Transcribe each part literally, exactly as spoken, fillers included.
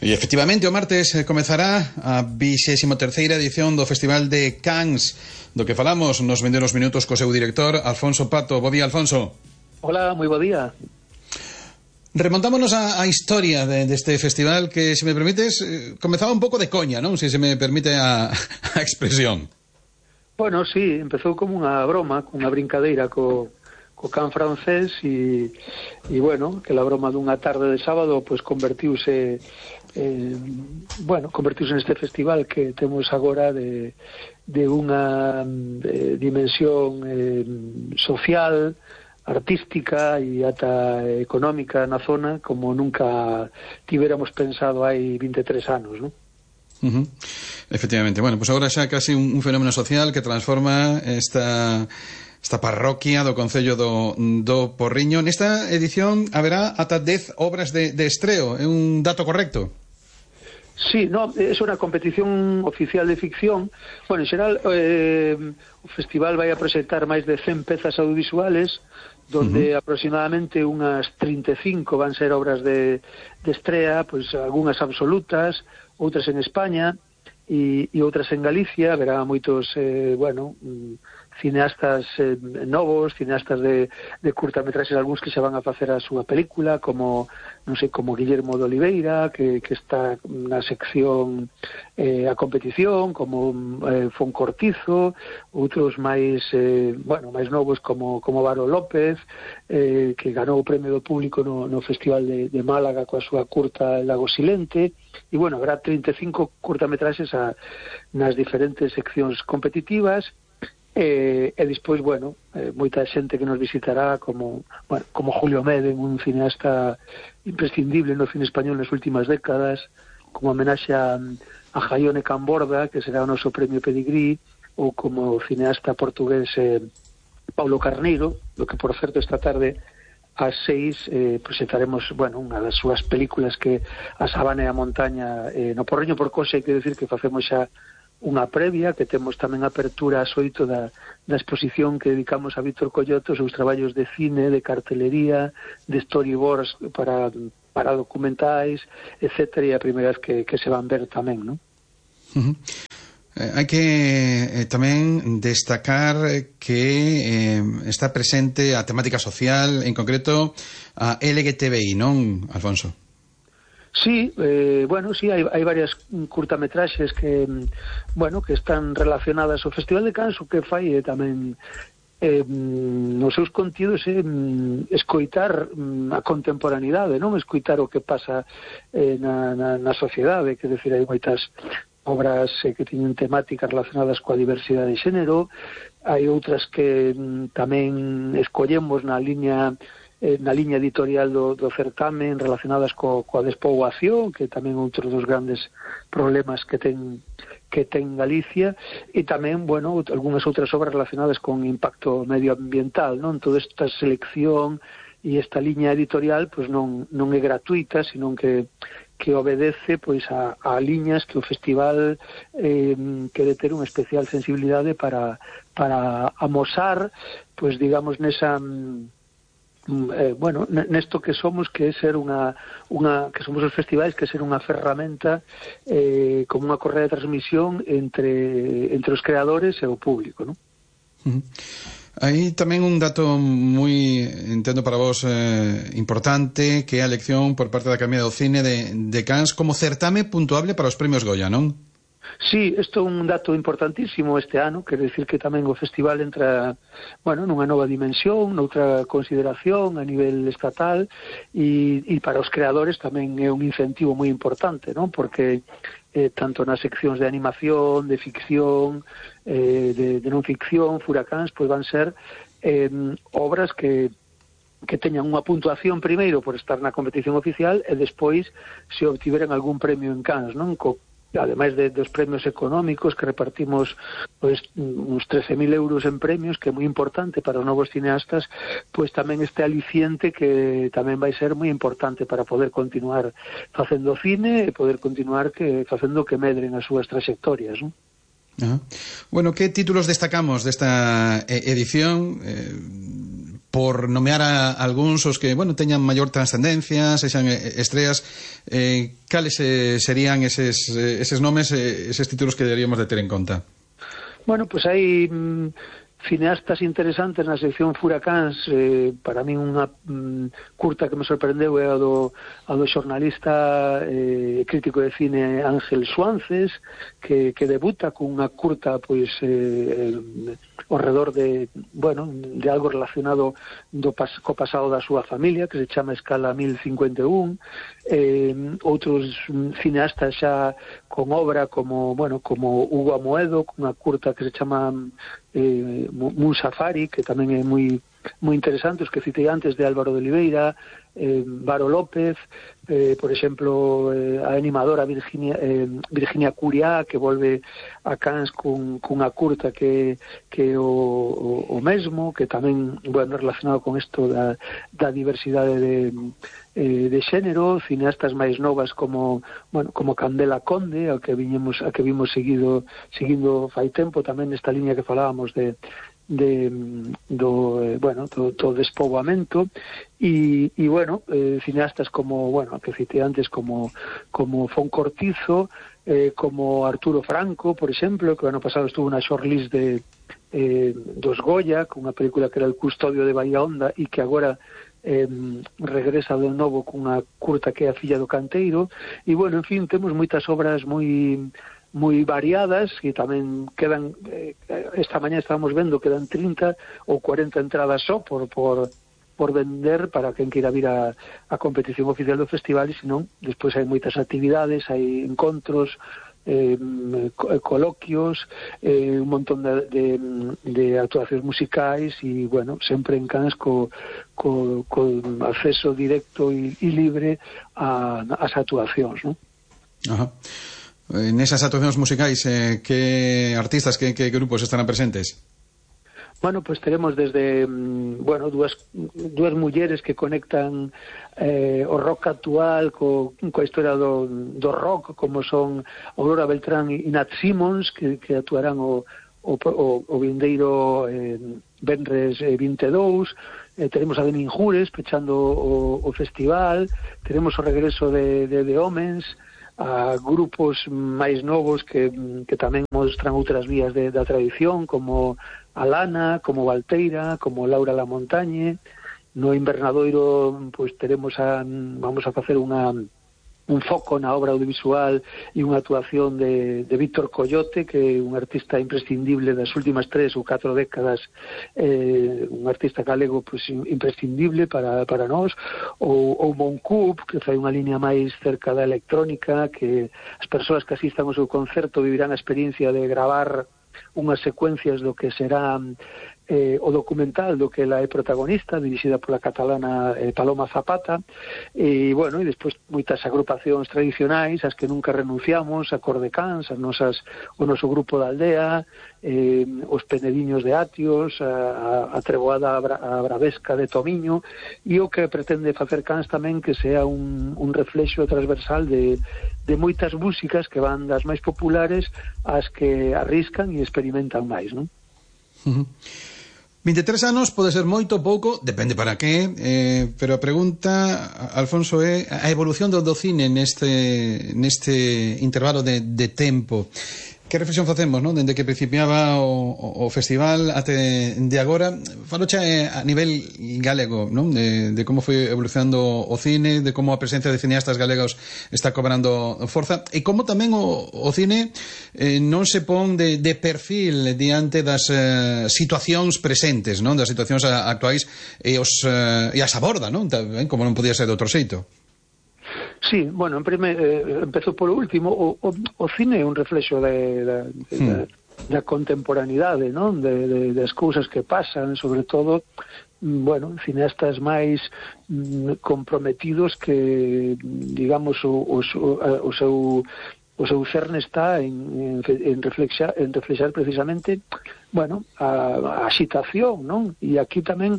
E efectivamente o martes comezará a vixésima terceira edición do Festival de Cannes, do que falamos nos vindeiros minutos co seu director Alfonso Pato. Bo día, Alfonso. Hola, moi bo día. Remontámonos á, á historia de, deste festival que, se me permites, eh, comezaba un pouco de coña, non? Se se me permite a, a expresión. Bueno, sí, empezou como unha broma, unha brincadeira co, co can francés e, e bueno, que la broma dunha tarde de sábado pues convertiuse eh, bueno, convertiuse neste festival que temos agora de, de unha de dimensión eh, social, artística e ata económica na zona como nunca tiveramos pensado hai vinte e tres anos, non? Uh-huh. Efectivamente, bueno, pues agora xa casi un, un fenómeno social que transforma esta esta parroquia do Concello do, do Porriño. Nesta edición haberá ata dez obras de, de estreo, é un dato correcto? Sí, no, é unha competición oficial de ficción. Bueno, en xeral eh, o festival vai a presentar máis de cen pezas audiovisuales, donde uh-huh. aproximadamente unhas trinta e cinco van ser obras de, de estrea, pois algunhas absolutas, outras en España e, e outras en Galicia. Haberá moitos, eh, bueno, cineastas eh, novos, cineastas de, de curtametraxes, algúns que xa van a facer a súa película, como, non sei, como Guillermo de Oliveira, que, que está na sección eh, a competición, como eh, Foncortizo, outros máis, eh, bueno, máis novos como, como Varo López, eh, que ganou o premio do público no, no Festival de, de Málaga coa súa curta El Lago Silente, e bueno, habrá trinta e cinco curtametraxes a, nas diferentes seccións competitivas. E, e despois, bueno, eh, moita xente que nos visitará como, bueno, como Julio Meden, un cineasta imprescindible no cine español nas últimas décadas, como homenaxe a, a Jaione Camborda, que será o noso premio Pedigrí, ou como cineasta portugués eh, Paulo Carneiro, do que, por certo, esta tarde ás seis eh, presentaremos, bueno, unha das súas películas, que A Sabana e a Montaña eh, no Porriño. Por cosa, hai que decir que facemos xa unha previa, que temos tamén apertura ás oito da, da exposición que dedicamos a Víctor Collotto, os seus traballos de cine, de cartelería, de storyboards para, para documentais, etcétera, e a primeira vez que, que se van ver tamén, non? Uh-huh. Eh, hai que eh, tamén destacar que eh, está presente a temática social, en concreto a L G T B I, non, Alfonso? Sí, eh, bueno, sí, hai, hai varias curtametraxes que, bueno, que están relacionadas ao Festival de Cannes. O que fai é tamén eh, nos seus contidos é eh, escoitar a contemporaneidade, non escoitar o que pasa eh, na, na, na sociedade, que decir, hai moitas obras eh, que teñen temáticas relacionadas coa diversidade de xénero, hai outras que mm, tamén escollemos na liña na liña editorial do, do certamen, relacionadas co, coa despoboación, que tamén outro dos grandes problemas que ten que ten Galicia, e tamén, bueno, algunhas outras obras relacionadas con impacto medioambiental, non? Toda esta selección e esta liña editorial pois non, non é gratuita, sino que que obedece pois a, a liñas que o festival eh, quere ter unha especial sensibilidade para, para amosar, pois digamos, nesa Eh, bueno, nesto que somos, que é ser unha, unha que somos os festivais, que é ser unha ferramenta eh, como unha correa de transmisión entre, entre os creadores e o público, non? Uh-huh. Hai tamén un dato moi, entendo para vos, eh, importante, que é a elección por parte da Academia do Cine de, de Cannes como certame puntuable para os premios Goya, non? Sí, isto é un dato importantísimo este ano, quer decir que tamén o festival entra, bueno, nunha nova dimensión, noutra consideración a nivel estatal, e, e para os creadores tamén é un incentivo moi importante, non? Porque eh, tanto nas seccións de animación, de ficción, eh, de, de non ficción, Furacáns, pois van ser eh, obras que que teñan unha puntuación primeiro por estar na competición oficial e despois se obtiveran algún premio en Cannes, non? Co ademais de, dos premios económicos que repartimos pois, uns trece mil euros en premios, que é moi importante para os novos cineastas, pois tamén este aliciente que tamén vai ser moi importante para poder continuar facendo cine e poder continuar que facendo que medren as súas trayectorias, non? Ajá. Bueno, que títulos destacamos desta edición? Eh, por nomear a algúns os que, bueno, teñan maior trascendencia, sexan estreas, eh, cales eh, serían eses, eh, eses nomes, eh, eses títulos que deberíamos de ter en conta? Bueno, pues hai mm, cineastas interesantes na sección Furacáns. Eh, para min unha mm, curta que me sorprendeu é a do, a do xornalista eh, crítico de cine Ángel Suances, que, que debuta cunha curta pois eh, ao redor de, bueno, de algo relacionado do pas, co pasado da súa familia, que se chama Escala mil cincuenta e un. Eh, outros cineastas xa con obra como, bueno, como Hugo Amoedo, cunha curta que se chama eh, Mun Safari, que tamén é moi moi interesante, os que citei antes de Álvaro de Oliveira, eh, Varo López, eh, por exemplo, eh, a animadora Virginia, eh, Virginia Curiá, que volve a Cannes cun, cunha curta que, que o, o, o mesmo, que tamén, bueno, relacionado con isto da, da diversidade de, eh, de xénero, cineastas máis novas como, bueno, como Candela Conde, a que viñemos, a que vimos seguido, seguindo fai tempo, tamén nesta liña que falábamos de de do, eh, bueno, do, do despoboamento e, e bueno, eh, cineastas como, bueno, que citei antes como, como Fon Cortizo, eh, como Arturo Franco, por exemplo, que o ano pasado estuvo na shortlist de eh, dos Goya, con unha película que era El custodio de Bahía Honda e que agora eh, regresa de novo cunha curta que é A filla do canteiro. E bueno, en fin, temos moitas obras moi moi variadas, e tamén quedan, eh, esta mañá estábamos vendo, quedan trinta ou cuarenta entradas só por, por, por vender para quen queira vir a, a competición oficial do festival, e senón, despois hai moitas actividades, hai encontros, eh, coloquios, eh, un montón de, de, de actuacións musicais, e, bueno, sempre en Cannes co, co, co acceso directo e, e libre a, as actuacións, non? Ajá. En esas actuacións musicais, eh, que artistas, que, que grupos estarán presentes? Bueno, pues teremos desde, bueno, dúas, dúas mulleres que conectan eh, o rock actual co, coa historia do, do rock, como son Aurora Beltrán e Nat Simmons, que, que actuarán o, o, o, o vindeiro eh, Venres eh, vinte e dous. Eh, teremos a Demin Jures pechando o, o festival. Teremos o regreso de, de, de Homens, a grupos máis novos que, que tamén mostran outras vías de, da tradición, como Alana, como Valteira, como Laura La Montañe. No Invernadoiro, pois teremos a, vamos a facer unha un foco na obra audiovisual e unha actuación de, de Víctor Coyote, que é un artista imprescindible das últimas tres ou catro décadas, eh, un artista galego pues, imprescindible para, para nós, ou, ou Moncoup, que fai unha línea máis cerca da electrónica, que as persoas que asistan ao seu concerto vivirán a experiencia de gravar unhas secuencias do que será eh, o documental do que ela é protagonista, dirixida pola catalana eh, Paloma Zapata. E, bueno, e despois moitas agrupacións tradicionais, as que nunca renunciamos, a Cordecans, as nosas, o noso grupo da aldea, eh, os Penediños de Atios, a, a Treboada a Bravesca de Tomiño, e o que pretende facer Cans tamén que sea un, un reflexo transversal de, de moitas músicas que van das máis populares ás que arriscan e experimentan máis, non? Uh-huh. vinte e tres anos pode ser moito ou pouco, depende para que, eh, pero a pregunta, Alfonso, é a evolución do, do cine neste, neste intervalo de, de tempo. Que reflexión facemos, non? Dende que principiaba o, o festival até de agora, falo xa a nivel galego, non? De, de como foi evolucionando o cine, de como a presencia de cineastas galegos está cobrando forza, e como tamén o, o cine eh, non se pon de, de perfil diante das eh, situacións presentes, non? Das situacións actuais e, os, eh, e as aborda, non? Tamén, como non podía ser de outro xeito. Sí, bueno, en primer, eh, empezo polo último. O, o, o cine é un reflexo de, de, de, hmm. da, da contemporaneidade, non? De, de, das cousas que pasan, sobre todo, bueno, cineastas máis mm, comprometidos que, digamos, o, o, o seu o seu cerne está en, en, en, reflexar, en reflexar precisamente, bueno, a, a xitación, non? E aquí tamén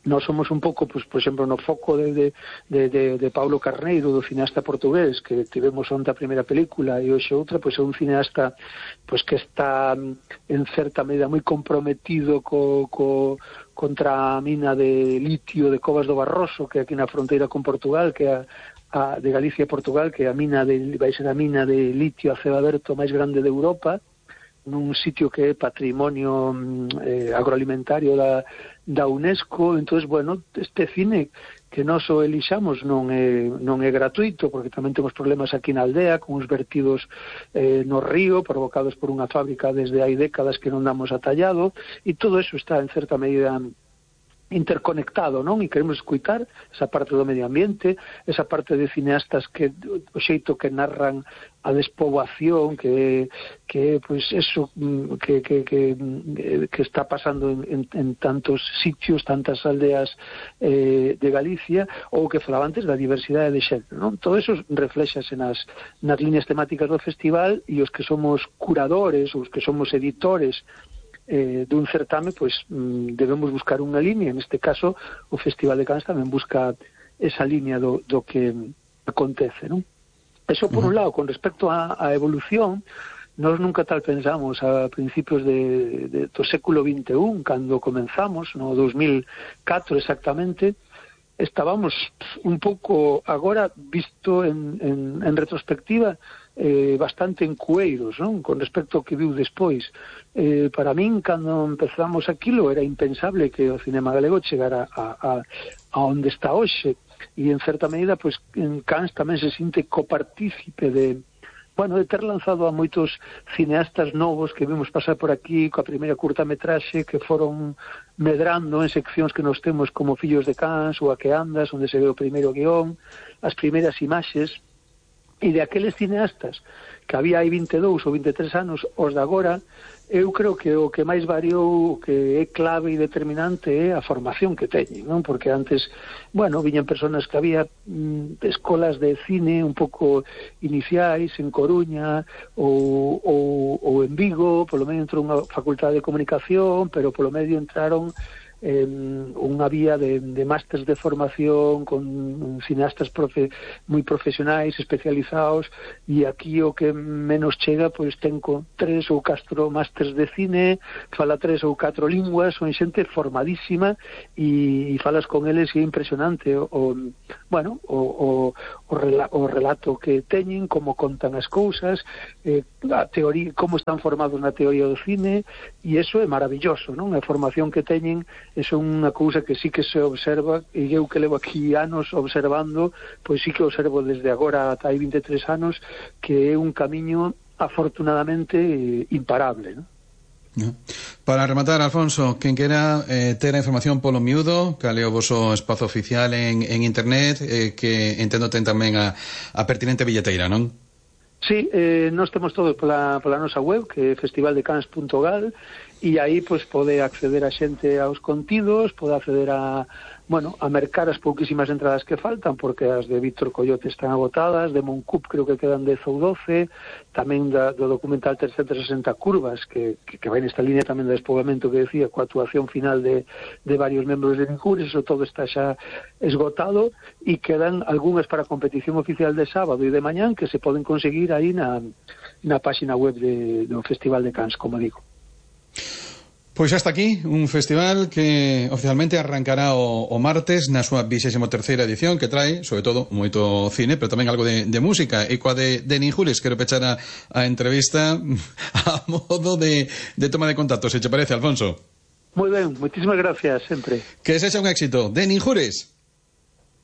nós somos un pouco, pues, por exemplo, no foco de, de, de, de, de Paulo Carneiro, do cineasta portugués, que tivemos onte a primeira película e hoxe outra, pois é un cineasta pues, que está en certa medida moi comprometido co, co, contra a mina de litio de Covas do Barroso, que aquí na fronteira con Portugal, que é a, a de Galicia e Portugal, que a mina de, vai ser a mina de litio a ceo aberto máis grande de Europa, nun sitio que é patrimonio eh, agroalimentario da, da UNESCO. Entonces, bueno, este cine que nós o elixamos non é, non é gratuito, porque tamén temos problemas aquí na aldea, con uns vertidos eh, no río, provocados por unha fábrica desde hai décadas que non damos atallado, e todo eso está en certa medida interconectado, non? E queremos escutar esa parte do medio ambiente, esa parte de cineastas que o xeito que narran a despoboación, que que pois eso que que que que está pasando en, en, en tantos sitios, tantas aldeas eh, de Galicia, ou que falaba antes da diversidade de xénero, non? Todo eso reflexase nas nas líneas temáticas do festival, e os que somos curadores, os que somos editores Eh, dun certame, pois mm, debemos buscar unha línea. En este caso o Festival de Cans tamén busca esa línea do, do que acontece, non? Eso por un lado. Con respecto á, á evolución, nós nunca tal pensamos a principios de, de, do século vinte e un, cando comenzamos, no dos mil catro exactamente, estábamos un pouco, agora visto en, en, en retrospectiva, eh, bastante encueiros, non? Con respecto ao que viu despois. Eh, para min, cando empezamos aquilo, era impensable que o cinema galego chegara a, a, a onde está hoxe, e en certa medida, pois, en Cans tamén se sinte copartícipe de, bueno, de ter lanzado a moitos cineastas novos que vimos pasar por aquí coa primeira curtametraxe, que foron medrando en seccións que nos temos como Fillos de Cans ou A que andas, onde se ve o primeiro guión, as primeiras imaxes. E de aqueles cineastas que había hai vinte e dous ou vinte e tres anos, os de agora, eu creo que o que máis variou, o que é clave e determinante, é a formación que teñen, non? Porque antes, bueno, viñan personas que había mm, escolas de cine un pouco iniciais en Coruña ou, ou, ou en Vigo, polo medio entrou unha facultade de comunicación, pero polo medio entraron eh, unha vía de, de másters de formación con cineastas profe, moi profesionais, especializados, e aquí o que menos chega, pois ten con tres ou catro másters de cine, fala tres ou catro linguas, son xente formadísima, e, e falas con eles e é impresionante o, o bueno, o, o, o, rela, o relato que teñen, como contan as cousas, eh, a teoría, como están formados na teoría do cine, e iso é maravilloso, non? A formación que teñen é unha cousa que sí que se observa, e eu que levo aquí anos observando, pois sí que observo desde agora ata hai vinte e tres anos, que é un camiño afortunadamente imparable, non? No. Para rematar, Alfonso, quen quera eh, ter a información polo miúdo, cal é o voso espazo oficial en, en internet, eh, que entendo ten tamén a, a pertinente billeteira, non? Sí, eh, nós temos todo pola, pola nosa web, que é festival de cans punto gal, e aí pois pode acceder a xente aos contidos, pode acceder a, bueno, a mercar as pouquísimas entradas que faltan, porque as de Víctor Coyote están agotadas, de Moncup creo que quedan dez ou doce, tamén da, do documental trescentas e sesenta curvas, que, que, que vai nesta línea tamén do despoboamento que decía, coa actuación final de, de varios membros de Ninjures, eso todo está xa esgotado, e quedan algunhas para a competición oficial de sábado e de mañán que se poden conseguir aí na, na página web de, do Festival de Cans, como digo. Pois hasta aquí un festival que oficialmente arrancará o, o martes na súa vixésima terceira edición, que trae, sobre todo, moito cine, pero tamén algo de, de música. E coa de, de Ninjures, quero pechar a, a entrevista a modo de, de toma de contacto, se te parece, Alfonso. Moi ben, moitísimas gracias, sempre. Que sexa un éxito. De Ninjures.